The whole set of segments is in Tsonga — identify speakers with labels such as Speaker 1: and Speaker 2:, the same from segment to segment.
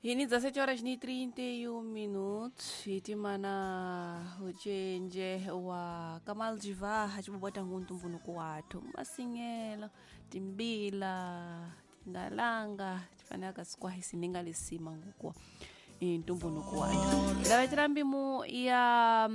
Speaker 1: Hini 17 horas ni 31 minutos hitimana ucenje wa Kamal Jivaha cibobota nguntumbunuku wathu masingelo timbila tingalanga tifanaka sikwahi sininga lisima ngukua intumbunuku wathu ndavecera mbimu ya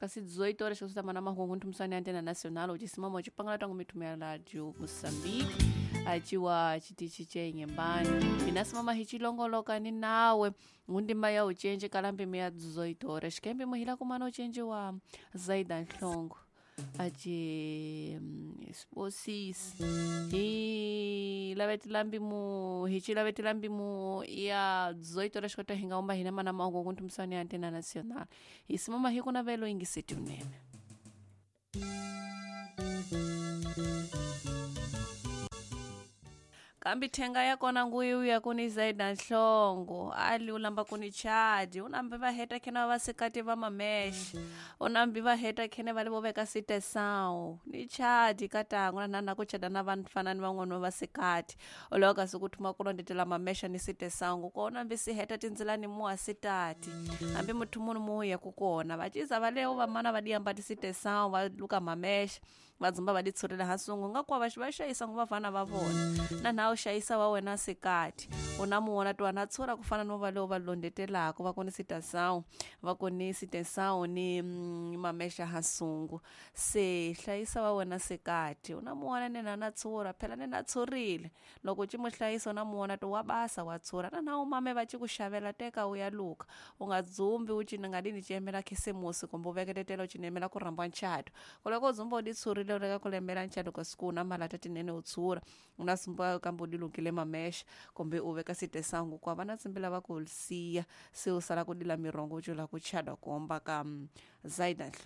Speaker 1: kasi 18 horas kasutamana mahungu nthumusani antena nacional ucisimamo cipangala tangu mithumu ya radio Moçambique aciwa chitichi chenyembani inasimama hichilongoloka ni nawe ngundima ya ucenje kala mbimu ya 18 horas kembi muhila kumana ucenje wa Zaida Nhlongo aci sibosisi hi lavetela mbimu hi lavetela mbimu ya 18 horas kota hinga umba hina mana maungu kunthumusani ya antena nacional hisimama hikuna velo ingiseti unene. Kambi thenga ya kona nguyu ya kuni Zaida Nhlongo ali ulamba kuni chadi unambi va heta khena va sikati va mamesh unambi va heta khene va le vo veka sitesão ni chadi katango na nana ku chada na vanhu fanani van'wana va sikati oloko kasi ku thuma ku londetela mamesha ni sitesão nguko unambi si heta tindzilani muwa sitati hambi muthu munhu muya ku kona va ciza va levo vamana va diamba ti sitesão va luka mamesha va dzumba va ditshulela hasungu nga kwa va xayisa ngo vafana va vona na na u xayisa wa wena sikati u na muwona twana na tshura ku fana no va levo va londetelaka va koni sitesão va koni sitesão ni mamesha hasungu se hlayisa wa wena sikati u na muwona nena na tshura phela nena tshurile loko ci mu hlayisa u na muwona to wa basa wa tshura na na u mame va ci ku xavela teka u ya luka u nga dzumbi u cina nga dini ciyemela khisimusi kumbe u veketetela u cinemela ku rhamba nchato kuloko u dzumba u di tshurile u leka ku lembela nchato kasi ku u na malata tinene u tshura u na sumba kambe u di lukile mamesha kumbe u veka sitesangu kwa va na tsimbila va ku siya se u sala ku dila mirongo u cula ku chada ku omba ka Zaida Nhlongo.